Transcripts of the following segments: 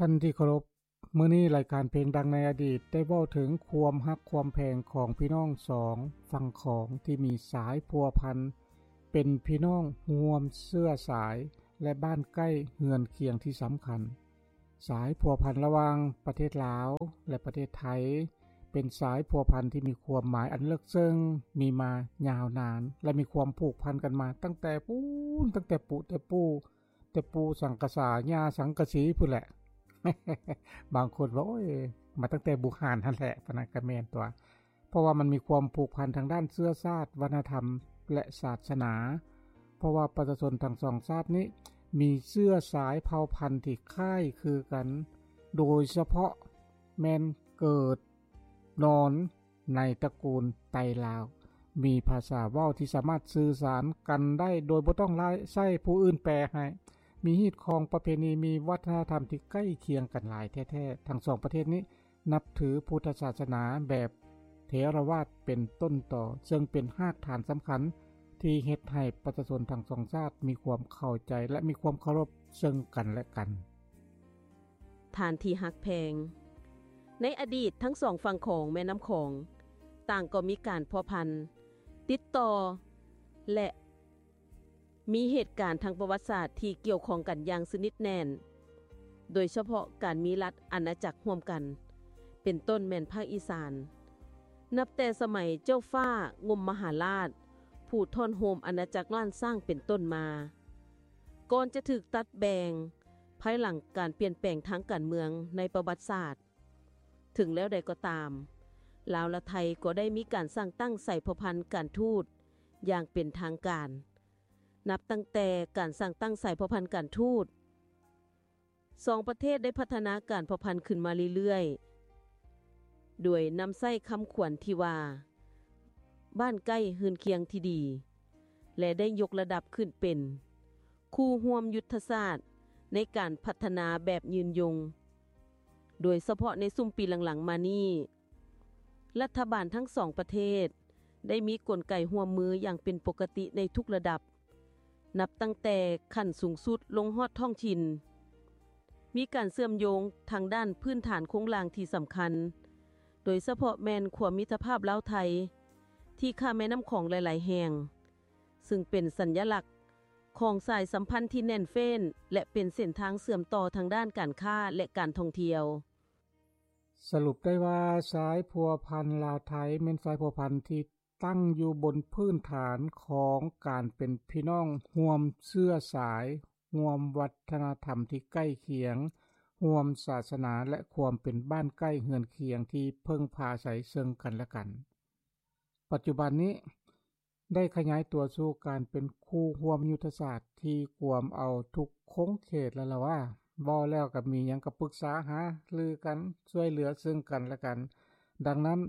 ທ່ານທີ່ເຄົາລົບ, ມື້ນີ້ລາຍການເພງດັງໃນອະດີດໄດ້ເວົ້າເຖິງຄວາມຮັກຄວາມແພງຂອງພີ່ນ້ອງສອງຝັ່ງຂອງທີ່ມີສາຍພົວພັນເປັນພີ່ນ້ອງຮ່ວມເຊື້ອສາຍ ແລະ ບ້ານໃກ້ເຮືອນຄຽງທີ່ສຳຄັນ. ສາຍພົວພັນລະຫວ່າງປະເທດລາວ ແລະ ປະເທດໄທ ເປັນສາຍພົວພັນທີ່ມີຄວາມໝາຍອັນເລິກເຊິ່ງ, ມີມາຍາວນານ ແລະ ມີຄວາມຜູກພັນກັນມາຕັ້ງແຕ່ປູ້ນ, ຕັ້ງແຕ່ປູ່ແຕ່ປູ່, ແຕ່ປູ່ສັງກະສາ, ຍ່າສັງກະສີພຸ້ນແຫຼະ. ບາງຄົນວ່າ ໂອ້ຍ, ມາຕັ້ງແຕ່ບູຮານຫັ້ນແຫຼະ, ປານນັ້ນກໍແມ່ນຕົວະ. ເພາະວ່າມັນມີຄວາມຜູກພັນທາງດ້ານເຊື້ອຊາດ, ວັດທະນະທຳ ແລະ ສາສະໜາ. ເພາະວ່າປະຊາຊົນທັງສອງຊາດນີ້ມີເຊື້ອສາຍເຜົ່າພັນທີ່ຄ້າຍຄືກັນ, ໂດຍສະເພາະແມ່ນເກີດນອນໃນຕະກູນໄຕລາວ, ມີພາສາເວົ້າທີ່ສາມາດສື່ສານກັນໄດ້ໂດຍບໍ່ຕ້ອງລາຍໃຊ້ຜູ້ອື່ນແປໃຫ້, ມີຮີດຄອງປະເພນີ, ມີວັດທະນະທຳທີ່ໃກ້ຄຽງກັນຫຼາຍແທ້ໆ. ທັງສອງປະເທດນີ້ ນັບຖືພຸດທະສາສະໜາແບບເຖລະວາດເປັນຕົ້ນຕໍ, ເຊິ່ງເປັນຮາກຖານສຳຄັນທີ່ເຮັດໃຫ້ປະຊາຊົນທັງສອງຊາດມີຄວາມເຂົ້າໃຈ ແລະ ມີຄວາມເຄົາລົບເຊິ່ງກັນແລະກັນ. ທ່ານທີ່ຮັກແພງ, ໃນອະດີດທັງສອງຝັ່ງຂອງແມ່ນ້ຳຂອງຕ່າງກໍມີການພົວພັນ, ຕິດຕໍ່ ແລະ ມີເຫດການທາງປະຫວັດສາດທີ່ກ່ຽວຂ້ອງກັນຢ່າງສະໜິດແໜ້ນ, ໂດຍສະເພາະການມີລັດອານາຈັກຮ່ວມກັນ, ເປັນຕົ້ນແມ່ນພາກອີສານ, ນັບແຕ່ສະໄໝເຈົ້າຟ້າງົມມະຫາລາດ ຜູ້ທ້ອນໂຮມອານາຈັກລ້ານຊ້າງເປັນຕົ້ນມາ, ກ່ອນຈະຖືກຕັດແບ່ງພາຍຫຼັງການປ່ຽນແປງທາງການເມືອງໃນປະຫວັດສາດ. ເຖິງແນວໃດກໍຕາມ, ລາວ ແລະ ໄທກໍໄດ້ມີການສ້າງຕັ້ງສາຍພົວພັນການທູດຢ່າງເປັນທາງການ. ນັບຕັ້ງແຕ່ການສ້າງຕັ້ງສາຍພົວພັນການທູດ, ສອງປະເທດໄດ້ພັດທະນາການພົວພັນຂຶ້ນມາເລື້ອຍໆ, ໂດຍນຳໃຊ້ຄຳຂວັນທີ່ວ່າ ບ້ານໃກ້ເຮືອນຄຽງທີ່ດີ ແລະ ໄດ້ຍົກລະດັບຂຶ້ນເປັນຄູ່ຮ່ວມຍຸດທະສາດໃນການພັດທະນາແບບຍືນຍົງ. ໂດຍສະເພາະໃນຊຸມປີຫຼັງໆມານີ້, ລັດຖະບານທັງສອງປະເທດໄດ້ມີກົນໄກຮ່ວມມືຢ່າງເປັນປົກກະຕິໃນທຸກລະດັບ, ນັບຕັ້ງແຕ່ຂັ້ນສູງສຸດລົງຮອດທ້ອງຖິ່ນ. ມີການເຊື່ອມໂຍງທາງດ້ານພື້ນຖານໂຄງລ່າງທີ່ສຳຄັນ, ໂດຍສະເພາະແມ່ນຂົວມິດຕະພາບລາວ-ໄທ ທີ່ຂ້າມແມ່ນ້ຳຂອງຫຼາຍໆແຫ່ງ, ຊຶ່ງເປັນສັນຍະລັກຂອງສາຍສຳພັນທີ່ແໜ້ນເຟ້ນ ແລະ ເປັນເສັ້ນທາງເຊື່ອມຕໍ່ທາງດ້ານການຄ້າ ແລະ ການທ່ອງທ່ຽວ. ສະຫຼຸບໄດ້ວ່າ ສາຍພົວພັນລາວໄທ ແມ່ນສາຍພົວພັນທີ່ຕັ້ງຢູ່ບົນພື້ນຖານຂອງການເປັນພີ່ນ້ອງຮ່ວມເຊື້ອສາຍ, ຮ່ວມວັດທະນະທຳທີ່ໃກ້ຄຽງ, ຮ່ວມສາສະໜາ ແລະ ຄວາມເປັນບ້ານໃກ້ເຮືອນຄຽງທີ່ເພິ່ງພາອາໄສເຊິ່ງກັນແລະກັນ. ປັດຈຸບັນນີ້ ໄດ້ຂະຫຍາຍຕົວສູ່ການເປັນຄູ່ຮ່ວມຍຸດທະສາດທີ່ກວມເອົາທຸກຂົງເຂດແລ້ວລະວ່າ, ເວົ້າແລ້ວກໍມີຫຍັງກໍປຶກສາຫາລືກັນ, ຊ່ວຍເຫຼືອເຊິ່ງກັນແລະກັນ. ດັ່ງນັ້ນ,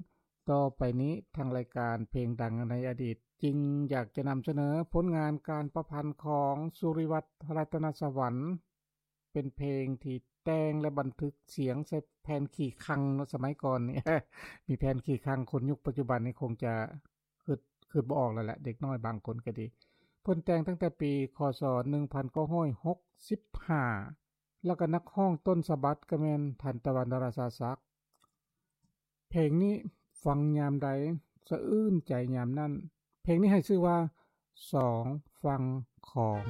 ຕໍ່ໄປນີ້ທາງລາຍການເພງດັງໃນອະດີດຈຶ່ງຢາກຈະນຳສະເໜີຜົນງານການປະພັນຂອງສຸລິວັດ ລັດຕະນະສະຫວັນ, ເປັນເພງທີ່ແຕ່ງ ແລະ ບັນທຶກສຽງໃສ່ແຜ່ນຂີ້ຄັງເນາະ ສະໄໝກ່ອນນີ້ ມີແຜ່ນຂີ້ຄັງ, ຄົນຍຸກປັດຈຸບັນນີ້ຄົງຈະຄິດ, ຄິດບໍ່ອອກແລ້ວແຫຼະ, ເດັກນ້ອຍບາງຄົນກໍດີ. ເພິ່ນແຕ່ງຕັ້ງແຕ່ປີ ຄ.ສ. ໜຶ່ງພັນເກົ້າຮ້ອຍຫົກສິບຫ້າ ແລ້ວກໍນັກຮ້ອງຕົ້ນສະບັດກໍແມ່ນທ່ານ ຕາວັນ ດາລາຊາສັກ. ເພງນີ້ຟັງຍາມໃດ ສະອື່ນໃຈຍາມນັ້ນ. ເພງນີ້ໃຫ້ຊື່ວ່າ ສອງຝັ່ງຂອງ.